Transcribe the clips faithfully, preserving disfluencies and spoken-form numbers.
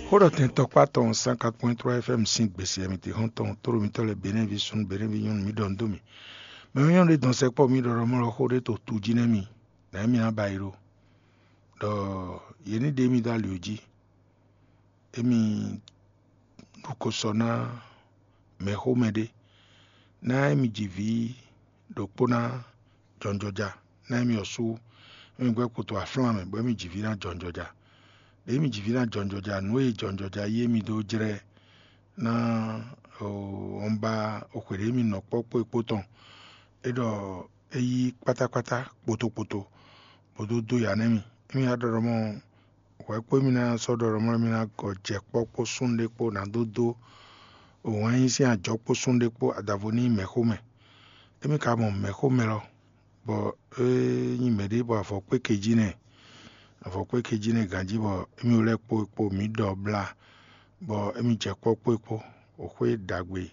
Xó ɖɔ tɛn tɔkpá tɔn cent quatre point trois F M sín gbèsè e mi te xɔ́n tɔn tóɖo mitɔ́ lɛ́ɛ Benɛ́vi súnnu Benɛ́vi nyɔ́nu mi ɖɔ nú dó mì. Mɛ nyɔ́nu ɖé dɔn sɛkpɔ́ mi ɖɔ ɖɔ mɔ lɔ xó ɖé to tu jí nɛ́ mi, nǎ émí ná ba yi ɖo. Ɖɔ yě ní ɖe émí dó ali jí. Émí ɖu ko sɔ ná mɛxómɛ ɖé, ná émí ji vǐ ɖokpó ná jɔnjɔja, ná émí ɔ́ sú émí gbɛ́ kpoto aflán mɛ, bɔ émí ji vǐ ná jɔnjɔja. Ɖě émí ji vǐ ná jɔnjɔja, nǔ e jɔnjɔja yí émí dó jlɛ́ ná ɔn ba xwě ɖě émí nɔ kpɔ́ kpó e kpó tɔn. É ɖɔ é yí kpátákpátá kpoto kpoto, bó dó dó ya nú émí. Émí wá ɖɔ ɖɔ mɔ hwɛ kpó émí ná sɔ́ ɖɔ ɖɔ mɔ émí ná gɔ jɛ kpɔ́ kpó súnnu ɖé kpó ná dó dó wǎn yí sín ajɔ kpó súnnu ɖé kpó adavo ní mɛ̌xomɛ. Émí ka mɔ mɛ̌xomɛ lɔ, bɔ é nyí mɛ̌ ɖé bɔ avɔ kpé kejí nɛ, avɔ kpé kejí nɛ ganjí bɔ émí lɛ́ kpo kpo mǐ ɖɔ blá, bɔ émí jɛ kpɔ́ kpó kpó, xwé ɖagbe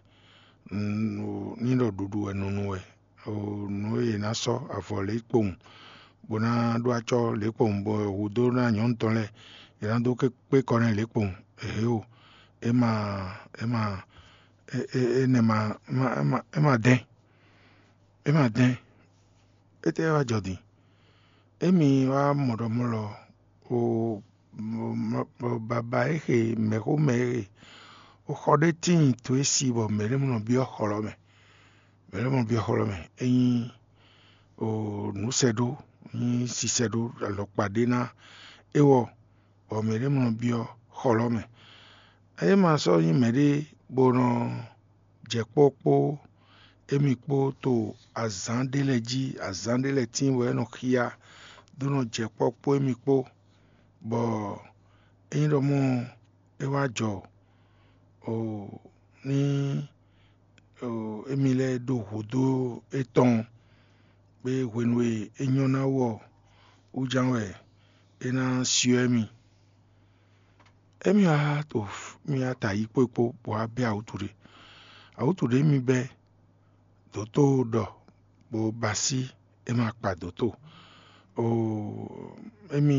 ní ɖɔ ɖuɖu wɛ nunu wɛ. Nǔ e yě ná sɔ́ avɔ lě kpowun bó ná ɖó acɔ́ lě kpowun bɔ hudó ná nyɔ̌nu tɔn lɛ́ɛ yě ná dó kpé kɔ n'i lě kpowun. Ehe o, é ma é ma énɛ́ ma é ma dɛ́n, é ma dɛ́n. Étɛ́ wá jɔ din? Émi wá mɔ ɖɔ mɔ lɔ o baba e xe mɛ̌xomɛ e xe, xɔ ɖé tíin to e si bɔ mɛ̌ ɖé mɔ nɔ byɔ́ xɔ lɔ mɛ. Mɛ̌ ɖé mɔ nɔ byɔ́ xɔ lɔ mɛ. É nyí nǔsɛɖó, nyí sisɛɖó alɔkpa ɖé ná é wɔ, bɔ mɛ̌ ɖé mɔ nɔ byɔ́ xɔ lɔ mɛ. É ma sɔ́ nyí mɛ̌ ɖé bó nɔ jɛ kpɔ́ kpó émi kpó to azǎn ɖé lɛ́ɛ jí, azǎn ɖé lɛ́ɛ tíin bɔ é nɔ xyá dó nɔ jɛ kpɔ́ kpó émi kpó, bɔ ényí ɖɔ mɔ é wá jɔ ní émi lɛ́ɛ ɖo hǔdó étɔn kpé hwenu e é nyɔ́ ná wú ɔ́, wú ján wɛ é ná syɔ́ émi. Émi wá to mì wá ta yi kpó kpó bɔ wá bɛ́ awǔtu ɖé. Awǔtu ɖé mi bɛ́ dǒtó ɖɔ bó ba sí é ma kpa dǒtó. Émi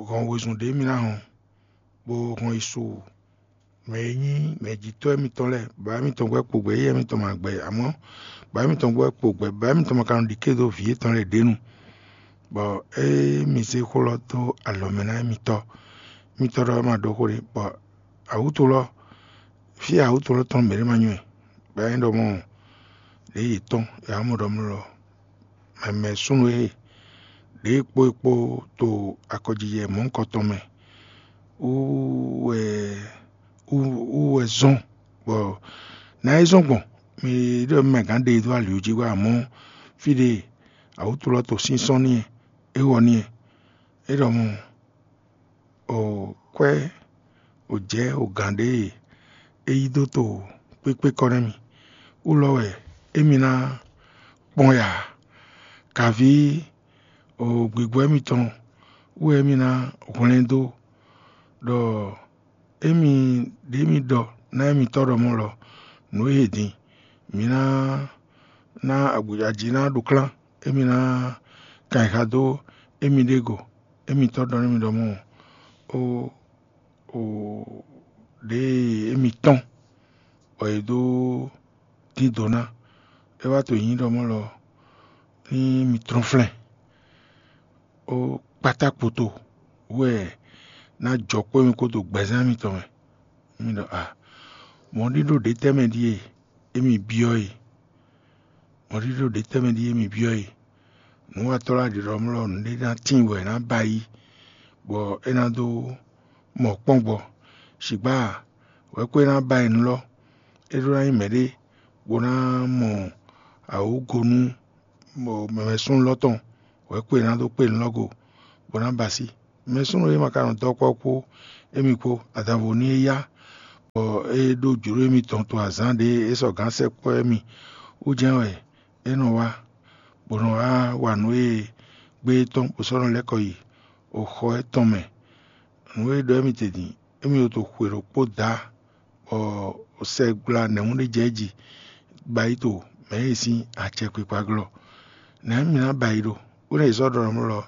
hɔn wezun ɖě mi ná hɔn bó hɔn yi su mɛ e nyí mɛjitɔ́ émítɔn lɛ́ɛ, baba émítɔn gbɛ́ kpo gbɛ, éyɛ́ émítɔn ma gbɛ, amɔ́ baba émítɔn gbɛ́ kpo gbɛ, baba émítɔn ma ka nɔ ɖi ké dó vǐ yětɔn lɛ́ɛ ɖě nu, bɔ é mi zé xó lɔ dó alɔ mɛ ná émítɔ́. Émítɔ́ ɖɔ é ma ɖó xó ɖé, bɔ awǔtu lɔ fí e awǔtu lɔ tɔn mɛ ɖé ma nywɛ́, bɔ é nyí ɖɔ mɔ ɖě yětɔn è wǎ mɔ ɖɔ mlɔ mɛmɛ súnnu e ɖě kpó e kpó to akɔjijɛ mɔ̌hunkɔtɔn mɛ wú wɛ wú wɛ zɔ́n, bɔ nǎ e zɔ́n gbɔn mi ɖɔ mɛ gǎn ɖe e dó ali jí wá amɔ̌ fí ɖe awǔtu lɔ to sínsɔ́n n'i é wɔ n'i é ɖɔ mɔ o kwɛ́ o jɛ̌ o gǎn ɖé e é yí dó to kpékpé kɔ nɛ́ mì. Wú lɔ wɛ émi ná kpɔ́n ya, kaví o gbǐgbɔ́ émitɔn wú wɛ émi ná hwlɛ́n dó ɖɔ émi ɖě mi ɖɔ ná émitɔ́ ɖɔ mɔ̌ lɔ nǔ e din mǐ ná ná aji ná ɖu klán, émi ná kan yi xa dó émi ɖě go. Émitɔ́ ɖɔ nú mi ɖɔ mɔ̌ ó, o ɖěe émi tɔ́n bɔ è dó dín dǒ ná. É wá to nyǐ ɖɔ mɔ̌ lɔ ní mi tlɔ́n flɛ́n ó kpátá kpoto wú wɛ ná jɔ kpó émi kpódó gbɛzán mitɔn mɛ. Mi ɖɔ a mɔ̌ɖíɖó ɖě tɛ́ mɛ ɖíe émi byɔ́ e? Mɔ̌ɖíɖó ɖě tɛ́ mɛ ɖíe émi byɔ́ e? Nǔwatɔ́ lɛ́ɛ ɖiɖɔ mlɔ́ nǔɖé ná tíin bɔ è nǎ ba yi, bɔ é ná dó mɔ kpɔ́n gbɔ. Shigbá wɛ̌ kó é ná ba yi nú lɔ, é ɖó ná nyí mɛ̌ɖé bó ná mɔ awǒgo nú mɛmɛsúnnu lɔ tɔn, wɛ̌ kó é ná dó kpé nǔ lɔ go, bó ná ba sí. Mɛsúnnu e ma ka nɔ dɔ́ kpɔ́ kpó émi kpó adavo ní é yá, bɔ é ɖó jlǒ émitɔn to azǎn ɖě é sɔ́ gǎn sɛkpɔ́ émi wú jɛ́n wɛ é nɔ wá, bó nɔ wá wa nǔ e gbé étɔn bó sɔ́ nɔ lɛ́ kɔ yi oxɔ étɔn mɛ. Nǔ e ɖɔ émi te din, émi ɖo to xwe ɖokpó dǎ, bɔ sɛgbla nɛ̌hún ɖé jɛ jí ba yi to mɛ̌ e sín acɛkpikpa glɔ́. Nɛ̌ mi ná ba yi ɖo? Bó ná yi sɔ́ ɖɔ nɔ lɔ,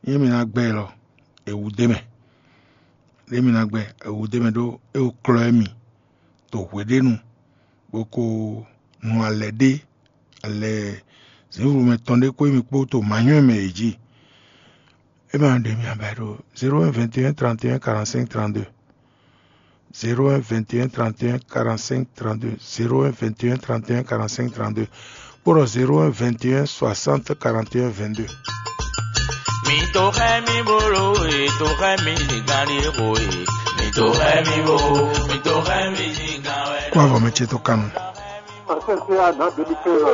nyɛ mi ná gbɛ lɔ, è wú d'é mɛ. ɖé mi ná gbɛ, è wǔ d'é mɛ ɖó é wú klɔ́ mì ɖo hweɖénu, bó ko nu alɛ ɖé, alɛ zǐnflumɛ tɔn ɖé kpó mì kpó ɖo manyɔ mɛ yě jí. É ma ɖe mi aba ɖo zéro un vingt et un trente et un quarante-cinq trente-deux. Zéro un vingt et un trente et un quarante-cinq trente-deux, zéro un vingt et un trente et un quarante-cinq trente-deux, kpódɔ zéro un vingt et un soixante quarante et un vingt-deux. Mi to xɛ mi bolo e, to xɛ mi gari xo e, mi to xɛ mi bo, mi to xɛ mi gan wɛ. Kó avɔ mɛ ce tó kanu. Ɔsɛsɛ àná débi kɛlɛ.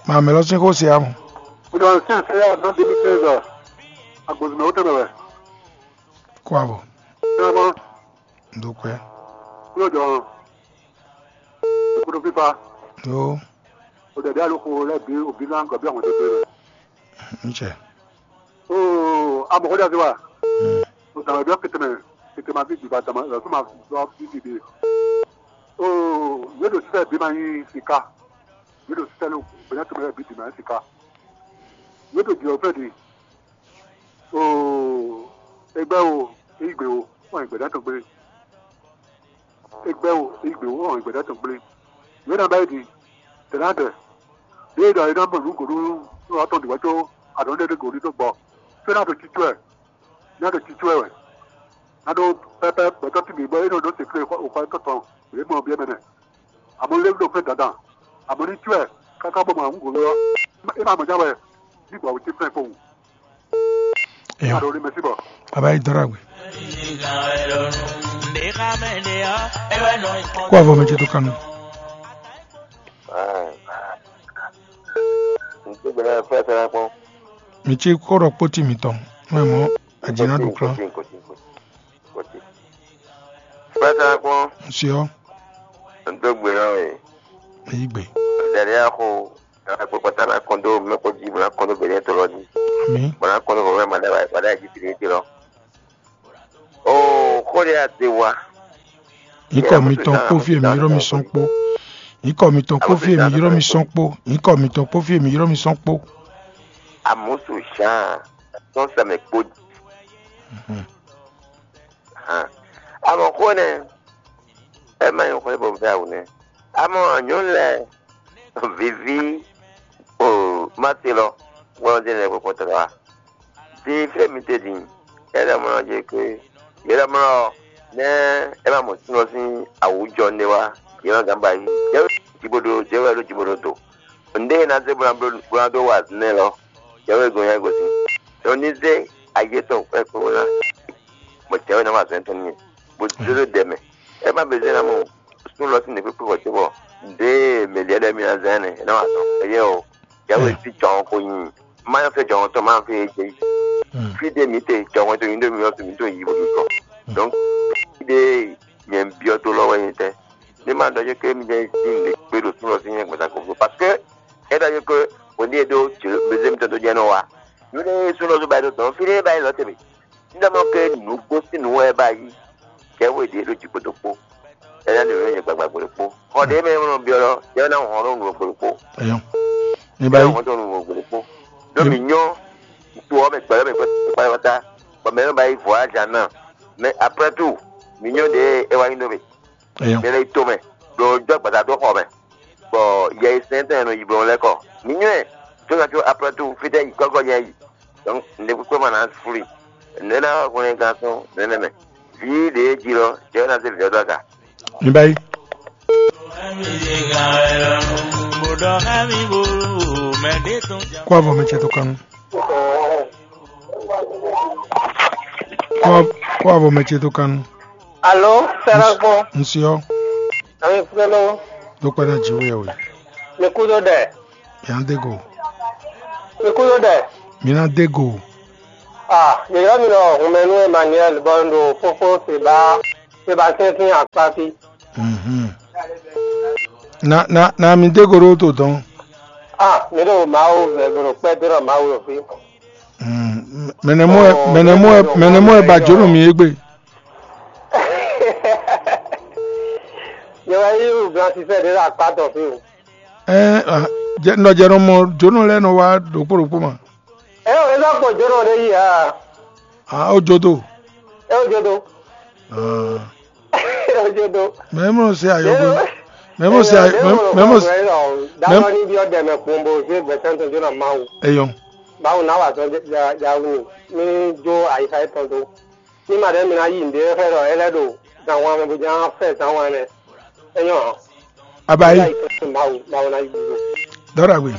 Maa mɛ lɔ sín xó se amɔ. Ɔsɛsɛ àná débi kɛlɛ. Agbozumɛ wotɛmɛ wɛ. Kó avɔ. Kó avɔ. Ndokwe. Kúló jọ. Kúló fífa. Yo. O dɛdɛ alo ko lɛ bi o bi lan gɔbi àwọn tó tó. Ntsɛ. Oo, amɔgɔdza ti wa. O dama dɔ kete mɛ, kete ma fi gbiba dama lɔ fún ma dɔ fi fi de. Oo, yé ɖo sísɛ bí ma nyí sika. Yé ɖo sísɛ ló gbɛdɛ tó mɛ bí di ma nyí sika. Yé ɖo jɔ fɛ di. Oo, egbɛ o, eyigbe o, wọn gbɛdɛ tó gbé. Egbɛ o, eyigbe o, wọn gbɛdɛ tó gbé. Yé na bɛ di. Tɛnɛ dɛ. Yé ɖɔ yé na mɔ nǔ gòɖú nú atɔn di wɛ tó adɔn ɖe ɖe gòɖú tó gbɔ. Fé na to titú ɛ. Nya ɖo titú ɛ wɛ. Nya ɖo pɛpɛ gbɛtɔ́ ti bǐ bɔ é nɔ ɖó sekle xɔ xɔ tɔn tɔn. Yě mɔ biɛ mɛ nɛ. Amɔ lé ɖo fɛn dandan. Amɔ ní tú ɛ káká bɔ mɔ àwọn gòló ɔ́. É ma mɔ já wɛ. Ní gbɔ wò tí fɛn kpowun. Eyo. Nya ɖo ní mɛsí bɔ. Baba yi dɔrɔ agbe. Kó avɔ mɛ ce tó kanu. Ŋutsu gbɛdɛ fɛn fɛn kpɔn. Mi ci kó ɖɔ kpóti mitɔn. Mɛ mɔ. Adzi na ɖu klán. Kpɛtɛ kpɔn. Nsiɔ. Ndo gbe na we. Eyi gbe. Dɛdɛ ya ko. Kpɛtɛ na kɔn do mɛ ko ji bɔ na kɔn do bɛnɛ to lɔ ji. Ami. Bɔ na kɔn do bɔ mɛ ma da ba da ji tiri ti lɔ. Oo, xó de ate wa. Nyikɔ mitɔn kpó fí èmi yrɔ́ mi sɔn kpó. Nyikɔ mitɔn kpó fí èmi yrɔ́ mi sɔn kpó. Nyikɔ mitɔn kpó fí èmi yrɔ́ mi sɔn kpó. Amusu Jean sɔn sɛmɛ kpó. Amɔ xó nɛ, ɛ má nyí xó bɔ bɛ awu nɛ. Amɔ nyɔ̌nu lɛ viví o má te lɔ wɛn ɔ́ dé nɛ kpɔkpɔ tɔgɔ wa. Din fí mi te din, é lɛ mlɔ je ke, yě lɛ mlɔ nɛ é má mɔ súnɔ sín awǔjɔ nɛ wá, yě má gán ba yí. Jɛwé jibodo, jɛwé ɖo jibodo do. Nɖé e ná zé bó ná bló bó ná dó wa nɛ lɔ, jɛwé gɔn nyá gosín. Ɖɔ ní zé ayé tɔn kpɛkpɛ wó ná, bɔ jɛwé ná wa zɛn tɔn n'i, bó zé dó dɛ mɛ. É má bɛ zé ná mɔ sún lɔ sín nǔkpékpé wɔ cóbɔ ɖěe mɛ̌ lɛ́ɛ mi ná zán ɛnɛ é ná wa tɔn. Éyɛ́ o, Yahweh sín jɔhɔn ko nyi má nyɔ́ fɛ jɔhɔn tɔn má fɛ jɛ yi. Fí ɖé mǐ te jɔhɔn to nyi ɖó mi ɔ́ mi tó yi bó mi kɔ. Donc fí ɖé nyɛ byɔ́ tó lɔ wɛ nyɛ tɛ́. Ní ma ɖɔ jɛ ké mi jɛ sín lě kpé ɖo súnɔ sín nyɛ gbɛ̌ta kókó. Parce que é ɖɔ jɛ ké hwenu e ɖó bezé mitɔn tó jɛ nɔ wa. Nǔ ɖé súnɔ tó ba yi ɖo dɔn fí ɖé ba yi lɔ tɛ́ mɛ. Síndamɔ ke nǔgbó sín nǔ wɛ ba yi. Jɛwé ɖě ɖo jǐkpo ɖokpó. Ɛnɛ ɖo nǔ nyɛ gbagba gbe ɖokpó. Xɔ ɖě mɛ nɔ byɔ́ lɔ, jɛwé ná hɔn nɔ nǔ gbe ɖokpó. Eyɔn. Mi ba yi. Hɔn nɔ nǔ gbe ɖokpó. Ɖó mi nyɔ to ɔ́ mɛ gbɛlɛ mɛ kpɛkpɛta. Bɔ mɛ nɔ ba yi voyage ná. Mais après tout, mi nyɔ ɖě é wá nyi nɔ mɛ. Eyɔn. Mɛ lɛ yi to mɛ. Ɖo jɔ gbada dó xɔ mɛ. Bɔ yɛ yi sɛn tɛn nɔ yi blɔn lɛ kɔ. Mi nyɔ ɛ. Tó ná tó après tout, fitɛ yi kɔkɔ yɛ yi. Donc ne kpekpe ma ná flu. Ne ná hwlɛn gán sɔn nɛnɛ mɛ. Vǐ ɖě jí lɔ, jɛ ná zé vǐ ɔ́ dó aga. Mi ba yi. Kó avɔ mɛ ce tó kanu. Kó avɔ mɛ ce tó kanu. Alo, Sɛrɛgbɔn. Nsiɔ. Ami kúló. Dó kpɛ́ ná jǐ wú yɛ wɛ. Mi kú dó ɖɛ. Yǎndégo. Mi kú dó ɖɛ. Mi ná dé go. Ah, yeyɔ mi nɔ hunmɛnu Emmanuel bɔ un ɖo fofo Seba Sébastien sín akpá fí. Mhm. Na na na mi dé go ɖó to dɔn. Ah, mi ɖo Mawu vɛ mi ɖo kpɛ́ dó ɖɔ Mawu ɖo fí. Mm, mɛnɛ mɔ ɛ mɛnɛ mɔ ɛ mɛnɛ mɔ ɛ ba jónú mi égbé. Yɛ wɛ yí blanchisseur ɖé ɖo akpá tɔn fí o. Ɛ nɔ jɛ nɔ mɔ jónú lɛ nɔ wá ɖokpó ɖokpó ma. Ɛ o, é nɔ kpɔ jónú ɖé yí a? Ah, ó jó tó. Ó jó dó. Ah. Ó jó dó. Mɛ mɔ se ayɔgo. Mɛ mɔ se ayɔ. Mɛ mɔ se. Dawɔ ni bi ɔdɛ mɛ kpombo se gbɛsɛn tó jóná Mawu. Eyɔn. Mawu na wa sɔ jawu ni. Mi jó ayika etɔn do. Ni ma ɖe mi na yi nde xɛ ɖɔ ele ɖo zanwan mɛ bo jan fɛ zanwan mɛ. Eyɔn hàn. Abayi. Mawu, Mawu na yi do. Dɔra gbe.